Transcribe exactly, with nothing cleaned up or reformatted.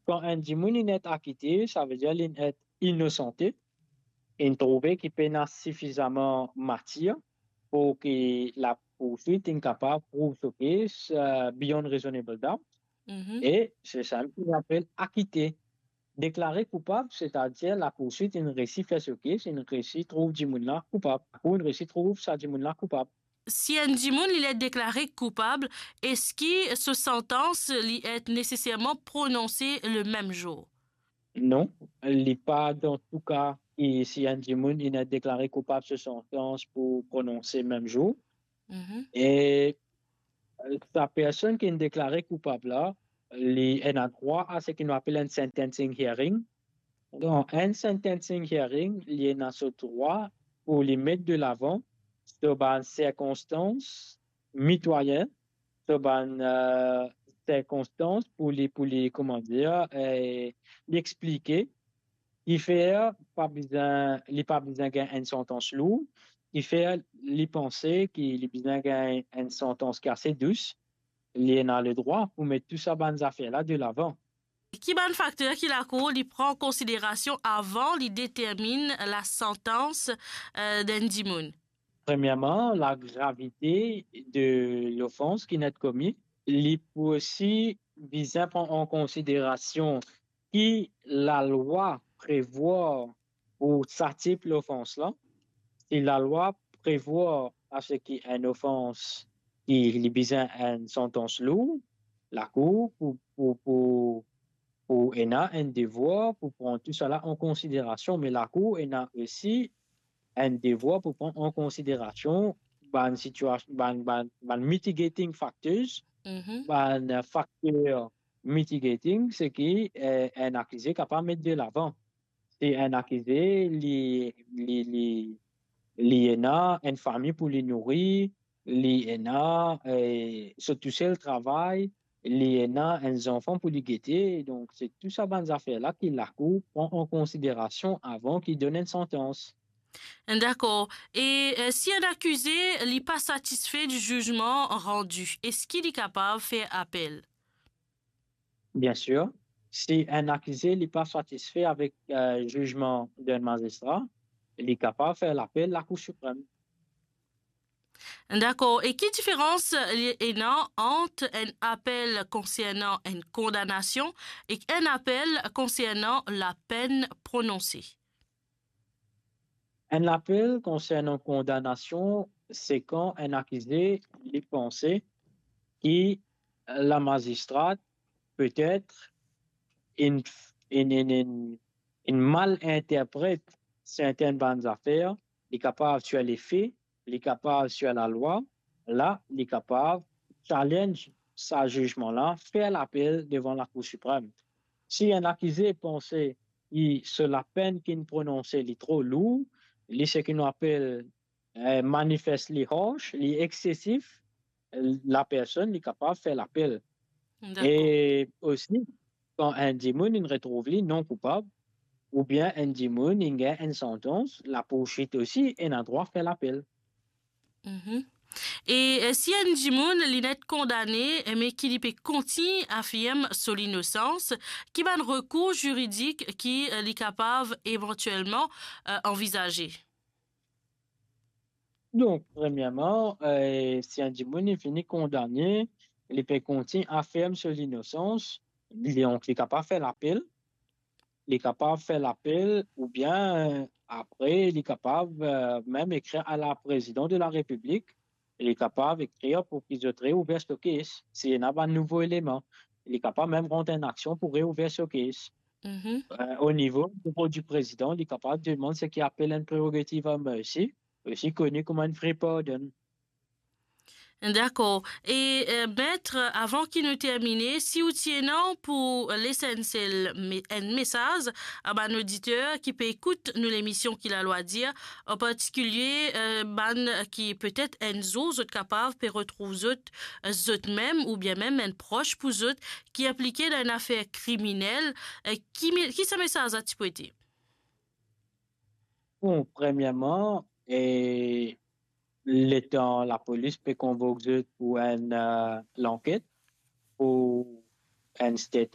Kan enn dimoun inn et akite, savedir li inn et inosante, inn trouve ki pena sifizaman matir pou ki lapourswit inn kapav prouv so case, eh, beyond reasonable doubt. Mhm. E se sa ki nou apel akite. Deklare koupab, setadir lapourswit inn resi fer so case, inn resi trouv dimoun la koupab, ou inn resi trouv sa dimoun la koupab. Si enn dimoun li et deklare koupab, eski so santans li et neseserman prononse le mem zour? Non, li pa dan tou ka ki si enn dimoun inn et deklare koupab, so santans pou prononse mem zour. Mhm. E, eh, sa personn ki inn deklare koupab la, li ena drwa a seki nou apel enn sentencing hearing. Dan enn sentencing hearing, li ena so drwa pou li met de lavan so bann sirkonstans mitwayin, so bann, eh, sirkonstans pou li, pou li, kouma dir, eh, li explike, ki fer pa bizin, li pa bizin gagn enn santans lour, ki fer li panse ki li bizin gagn enn santans ki ase dous, li ena ledrwa pou met tou sa bann zafer la de lavan. Ki bann fakter ki lakour li pran konsiderasion avan li determinn lasantans, eh, d'enn dimoun? Premierman, lagravite de lofans ki inn et komi. Li pou osi bizin pran an konsiderasion ki lalwa prevwar pou sa tip lofans la. Si lalwa prevwar a seki enn ofans ki li bizin enn santans lour, lakour pou, pou, pou, pou ena enn devwar pou pran tou sala an konsiderasion, me lakour ena osi enn devwar pou pran an konsiderasion bann sitias-, bann, bann, bann mitigating factors, Mhm. bann fakter mitigating, seki, eh, enn akize kapav met de lavan. Si enn akize, li, li, li, li ena enn fami pou li nouri, li ena, eh, so tousel travay, li ena enn zanfan pou li gete. Donk, se tou sa bann zafer la ki lakour pran an konsiderasion avan ki donn enn santans. Dakor. E, eh, si enn akize li pa satisfe di zizman randi, eski li kapav fer apel? Bien sir. Si enn akize li pa satisfe avek, eh, zizman d'enn mazistra, li kapav fer lapel Lakour Siprem. Dakor. E ki diferans li ena ant enn apel konsernan enn kondanasion ek enn apel konsernan lapenn prononse? Enn lapel konsernan kondanasion, se kan enn akize li panse ki lamazistra petet inn, inn, inn, inn, inn mal interpret sertenn bann zafer, li kapav sir lefe, li kapav sir lalwa, la, li kapav challenge sa zizman la, fer lapel devan Lakour Siprem. Si enn akize panse ki so lapenn ki'nn prononse li tro lour, li seki nou apel, eh, manifestly harsh, li eksesif, lapersonn li kapav fer lapel. Dakor. E osi, kan enn dimoun inn retrouv li non koupab, oubien enn dimoun inn gagn enn santans, lapourswit osi ena drwa fer lapel. Mhm. E, eh, si enn dimoun li net kondane, eh, me ki li pe kontign afirm so linosans, ki bann rekour ziridik ki, eh, li kapav evantielman, eh, anvizaze? Donk, premierman, eh, si enn dimoun li fini kondane, li pe kontign afirm so linosans, li, donk, li kapav fer lapel, li kapav fer lapel, oubien, eh, apre, li kapav, eh, mem ekrir a la Prezidan de la Repiblik, li kapav ekrir pou ki zot reouver so case, si ena bann nouvo eleman, li kapav mem rant enn aksion pou reouver so case. Mhm. Eh, o nivo, o nivo di Prezidan, li kapav demann seki apel enn prerogative of mercy, osi koni kouma enn free pardon. Dakor. E, eh, Met, avan ki nou termine, si ou ti ena pou les enn sel me-, enn mesaz a bann oditer ki pe ekout nou lemision Ki Lalwa Dir, an partikilie, eh, bann ki petet enn zour zot kapav pe retrouv zot, eh, zot mem oubien mem enn pros pou zot ki inplike dan enn afer kriminel, eh, ki me-, ki sa mesaz la ti pou ete? Bon, premierman, e letan lapolis pe konvok zot pou enn, eh, lanket, pou enn statement,